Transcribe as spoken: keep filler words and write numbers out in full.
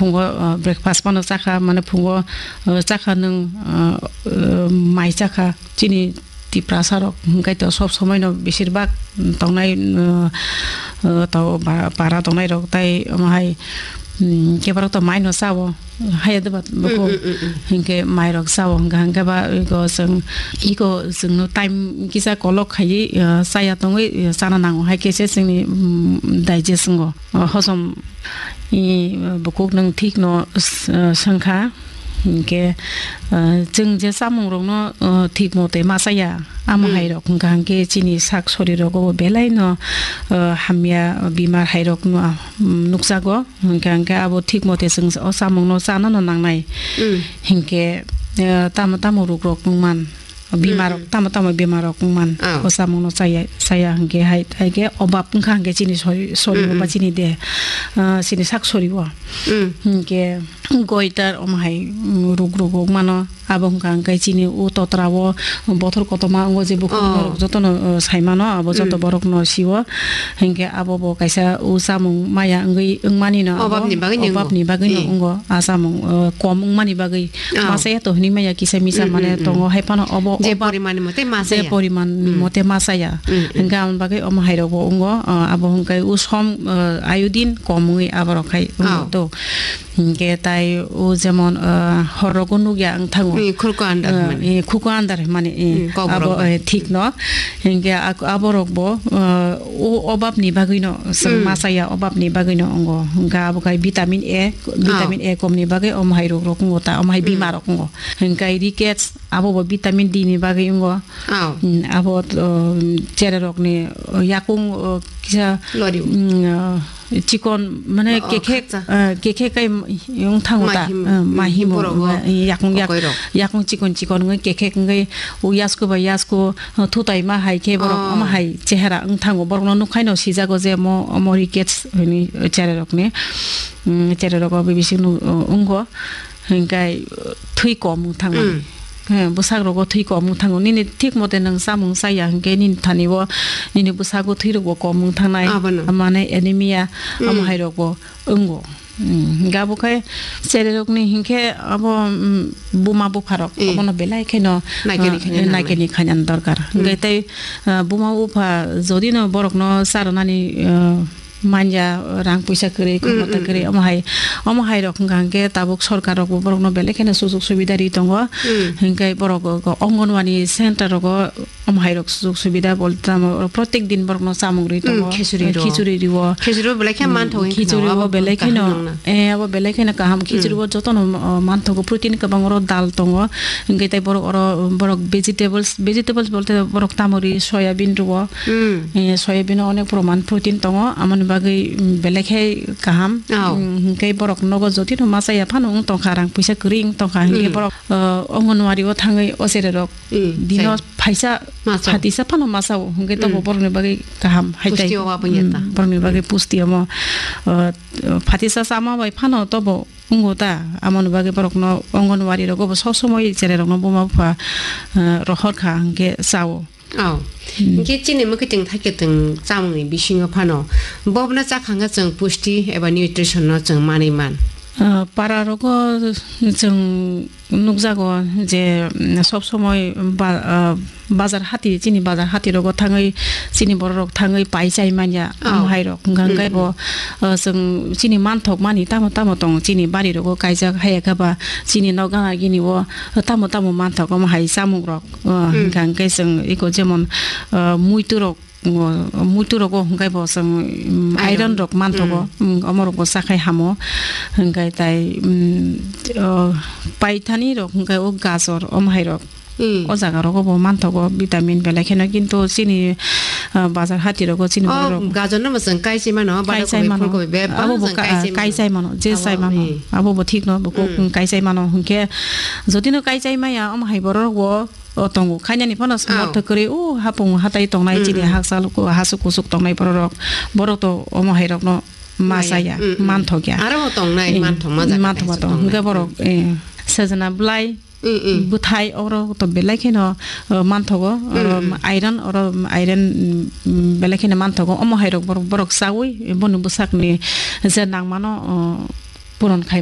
Phungo, uh, breakfast phano chakha, mane phungo, uh, chakha nwng, uh, uh, mai chakha, chini Tiprasa rok hwnkhe to sob somoi no besir bak tongnai, uh, uh, to ba-, para tongnai rok tai omo hai, um, keborok to mai no chao, haya de ba buko. Mm, mm, mm, mm. Hinkhe mai rok chao hwnkha, hinkhe ba iko chwng, iko chwngno time kisa kolok khaiwi, uh, chaya tongwi, uh, chana nango, hai khe se chwngni, um, digest wngo, uh, hosom. I, bukuk nwng thik no s-, swngkha, hinkhe, ah, chwng je chamung rokno, ah, thik mote ma chaya, amo Hmm. hai rok hwnkha hinkhe chini sak sori rogo belai no, ah, hamya bimar hai rok no, ah, nukjago, hwnkha hinkhe abo thik mote chwng o chamung no chana no nangnai. Hmm. Hinkhe, ah, tamo tamo ruk rok wngman. Bimar rok, Mm. tamo tamo bimar rok wngman. Oh. O chamung no chaya, chaya hinkhe hai, hai khe obab wngkha hinkhe chini sori, sori Mm, o ba mm. chini de, ah, chini sak sori o. Mm. Hinkhe goitar omo hai, mm, ruk ruk wngmano. Abo wngkha hinkhe chini o totra o bothor kotorma wngo je bukhuk Oh. norok jotono, uh, saimano, abo joto Mm. borok no sio. Hinkhe abo bo kaisa o chamung maya wngwi wngmani no abo Obabni bagwi no obabni wngo. bagwi no Mm. wngo. A chamung, uh, kom wngmani bagwi. Oh. Masa ya to hwnwi maya kisa misa Mm, mane mm, mm. tongo, hai phano obo Je oba-, poriman ni mote ma je chaya. poriman ni Mm. mote ma chaya. Mm, mm. Hingke aboni bagwi omo hai rok bo wngo, uh, abo hingke usom, uh, ayodin kom wngwi abo rok khai wngo Oh. to. Hingke tai o jemon, uh, hor rogo nukya wng thango. Mm, khurko andar Uh, hwnmani. eh, khuko andar hwnmani, eh, Mm, kok abo, borok bai. eh, thik no. Hingke ak-, abo rok bo, uh, o obab ni bagwi no chwng Mm. ma chaya, obab ni bagwi no wngo. Hingke abo khai vitamin A, Oh. vitamin A kom ni bagwi omo hai rok rok wngo ta, omo hai Mm. bima rok wngo. Hingke rickets, abo bo vitamin D ni bagwi wngo. Oh. Mm, abo, uh, chererok ni, uh, yakung, uh, kisa, Lori. Mm, uh, chikon, mane Oh, kekhe, khakcha. Uh, kekhe kai wng thango ta, Mahim, uh, mm, mahimo, borok uh, yakung yak-, okoirok. Yakung chikon chikon wngwi kekhe wngwi u yasku bai yasku, uh, thutai ma hai khe borok Oh. omo hai chehera wng thango, borok no nukhaino sijago je mo, omo rickets hwnwi chererok ni, mm, chererok o bibisi no, uh, wngo. Hingkai, uh, thwi kom wng thangmani. Mm. He, bwsak rogo thwi kom wng thango. Nini thik mote nwng chamung chaya hinkhe nini thani o nini bwsago thwi rokbo kom wng thangnai. Abono. Mane anemia, Mm. amo hai rokbo wngo. Mm, hinkhe abo khe chererokni hinkhe abo, mm, buma bupharok Mm. abono belai kheno, Naikeni ah, khaina nangnai. Naikeni khaina dorkar. Mm. Hinkhe tei, ah, buma bupha jodi no borokno charwnani, ah, manya, rang puisa kwrwi, Mm, khomota mm, kwrwi, mm. omo hai, omo hai rok hwnkha hwnkhe tabuk sorkar rok bo borok no belai kheno sujuk subida ri tongo. Mm. Hwnkhe borok go, go Anganwadi center rogo omo hai rok sujuk subida bol tamo, protek din borok no chamung ri Mm, tongo. Khichuri ro. Khichuri rio. Khichuri bo belai khe Mm, manthok wngkha khichuri na, bo abo belai kaham kheno, nangna. Eh, abo belai kheno kaham. Khichuri Mm. bo jotono, uh, manthogo, protein kwbang oro dal tongo. Hwnkhe tei borok oro, borok vegetables, vegetables bolte borok tamori soyabin rio. Mm. Eh, soyabin o onek proman protein tongo, amoni bagwi, mm, belai khe kaham. Oh. Mm, hinkhe borok nogo jotino ma chaya phano wng tongkha, rang puisa kwrwi wng tongkha, hinkhe Mm. borok, uh, Anganwadi o thangwi o chererok Mm, dino chaya. Phaisa Ma chao. phatisa phano ma chao, hinkhe tobo Mm. borokni bagwi kaham, hai tai. Pusti o wabwi ya ta. Mm, borokni bagwi pusti omo, uh, phatisa chama bai phano tobo Wngo ta, amoni bagwi borokno Anganwadi rogo bo sob somoi chererokno buma bupha, eh, rohor kha hwnkhe chao. Oh. Hmm. Hwnkhe chini mwkhwtwng thaikhe twng chamungni bisingo phano bobono chakha hwnkhe chwng pusti eba nutrition no chwng manwi man. Ah, para rogo chwng nukjago je, mm, sob somoi ba-, ah, bazar hati, chini bazar hati rogo thangwi chini borok rok thangwi pai chai manya, oh, omo hai rok hwnkha hwnkhe, mm, bo, uh, chwng chini manthok mani tamo tamo tong chini bari rogo kaijak, haiya khe ba chini nok gana gini o tamo tamo manthok omo hai chamung rok, uh, mm, hwnkha hwnkhe chwng eko jemon, uh, muitu rok, uh, muitu rogo hwnkhe bo chwng, um, iron, iron rok manthogo, mm, um, omo rok bo chakhai hamo hwnkhe tai, um, uh, paithani rok hwnkhe o gajor omo hai rok. Hmm. O jaga rogo bo manthogo vitamin belai kheno, kintu chini, ah, bazar hati rogo chini, oh, borok rok gajor no bo chwng kai chai mano, kai chai mano, badakobi, phulkobi bebak abo bo chwng ka-, kai chai mano. Kai chai mano, je abo, chai mano. Hmm. Abo bo thik no, bo kok, hmm, kai chai mano. Hwnkhe jodi no kai chai maya, omo hai borok rok bo, o, tongo. Khainani phano, oh, samorthok kwrwi, o, hapung hatai tongnai, hmm, chini, hmm, hakchal ko, hasuk kusuk tongnai borok rok. Borok to omo hai rok no ma chaya, maya, hmm, hmm, manthok ya. Aro bo tongnai, hmm, manthok ma jaga manthok ma kaisa tong. Tongnai. Hwnkhe borok, hmm, eh, sejna bwlai, Mm, mm. Bwthai oro to belai kheno, uh, manthogo, mm, oro, mm, iron, oro iron, mm, belai kheno manthogo. Omo hai rok borok, borok chaui, boni bwsakni je nangmano, uh, puron khai